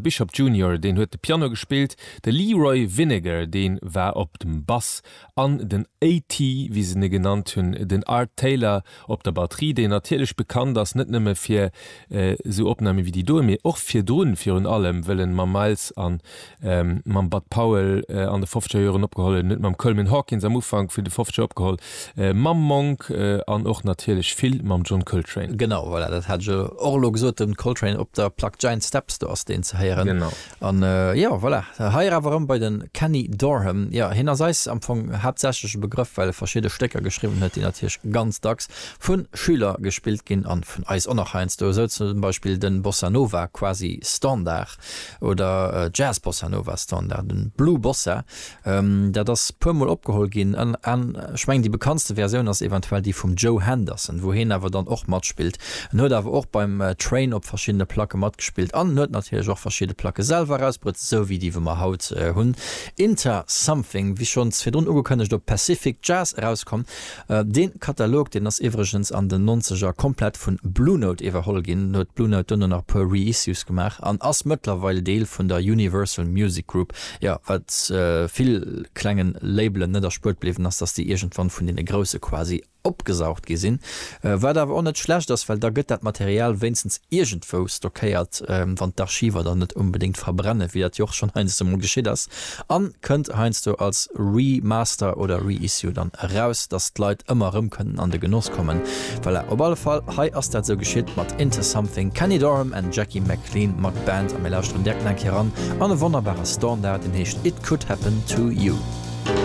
Bishop Junior, deen huet de Piano gespillt, de Leroy Vinnegar, dee war op dem Bass an den AT, wéi se en genannt hunn, den Art Taylor op der Batterie, deen natierlech bekannt ass net nëmme fir esou Opname wéi déi doe, mee och virdrun virun allem, wëll en mam Miles an mam Bud Powell an de fofzeger Joren opgeholl huet, en huet mam Coleman Hawkins am Ufank vun de fofzeger opgeholl, mam Monk an och natierlech vill mam John Coltrane. Genau, voilà, dat hat ech och elo gesot, den Coltrane op der Plack Giant Steps, do ass deen ze héieren. Genau. An jo, voilà, hei awer erëm bei de Kenny Dorham. Jo, hien ass eis am Fong haaptsächlech e Begrëff, well e verschidde Stécker geschriwwen huet, déi natierlech ganz dacks vu Schüler gespillt ginn an vun eis och nach heiansdo, esou zum Beispill de Bossa Nova quasi Standard oder Jazz Bossa Nova Standard, den Blue Bossa. Dat ass puer mol opgeholl ginn an ech mengen déi bekanntste Versioun ass eventuell déi vum Joe Henderson, wou hien awer dann och matspillt. En huet awer och beim Train op verschiddene Placke matgespillt an en huet natierlech och verschidde Placke selwer erausbruet, esou wéi déi wou mer haut hunn. Inter Something, wéi schonns virdrun ugekënnegt, op Pacific Jazz erauskomm. Dee Katalog, deen ass iwwregens an den Nonzeger komplett vun Blue Note iwwerholl ginn, huet Blue Note duerno nach e puer Reissues gemaach an ass mëttlerweil Deel vun der Universal Music Group. Jo, wat vill klengen Labelen net erspuert bliwwen ass, dass déi iergendwann vun deene grousse quasi opgesaugt gi sinn. Wat awer och net schlecht ass, well da gëtt dat Material wéinstens iergendwou stockéiert, wann d'Archiver dann net onbedéngt verbrennen, wéi dat jo och schonn heiansdo mol geschitt ass. An kënnt heiansdo als Remaster oder Reissue dann eraus, dass d'Leit ëmmer erëm kënnen an de Genoss kommen. Voilà, op alle Fall, hei ass dat esou geschitt mat Into Something, Kenny Dorham and Jackie McLean mat Band a mir lauschteren direkt nach eng Kéier eran an e wonnerbare Standard, deen heescht It Could Happen To You.